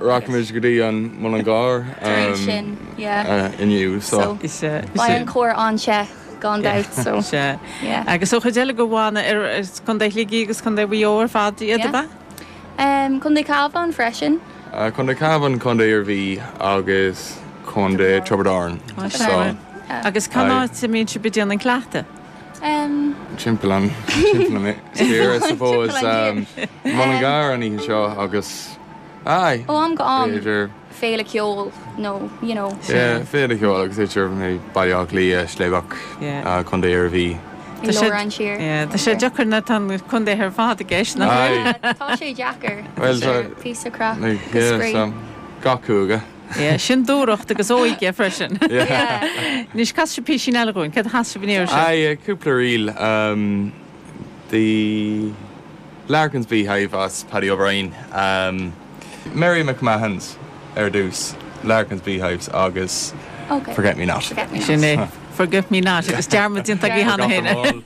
Rachaimid go dtí an Mullingar Tar éis sin, yeah. inniu so. Beidh an cór an-te gan dabht so, Sea. yeah. Agus an chuid eile de bhanna ar Contae Shligigh agus Contae Mhaigh Eo ar fad iad, ab ea? Contae Cabhán freisin. Contae Cabhán, Contae Iarmhí agus Contae Tiobraid Árann. So. Agus cén áit a mbíonn sibh ag déanamh an cleachtadh? Timpeall an timpeall an tír I suppose. Mullingar an oíche seo agus aye. Ó am go am b'fhéidir. féile ceoil nó you know. Yeah, féile ceoil agus idir Baile Átha Cliath, Sligeach, Contae Iarmhí. I lár an tír. Yeah, tá sé deacair nuair atá na contaetha ar fad i gceist, nach bhfuil? Yeah, tá sé deacair. Well, tá. Píosa craic agus spraoi. Yeah, so gach cúige. Yeah, sin dúthracht agus óige freisin. Yeah. Anois, casfaidh sibh písín eile dhúinn. Céard a chas sibh an iarraidh seo? Aye, cúpla ríl. The Larkin's Beehive as Paddy O'Brien. Mary McMahon's ar dtús, Larkin's Beehives agus Forget Me Not. Sin é, Forget Me Not agus dearmad déanta agaibh cheana féin.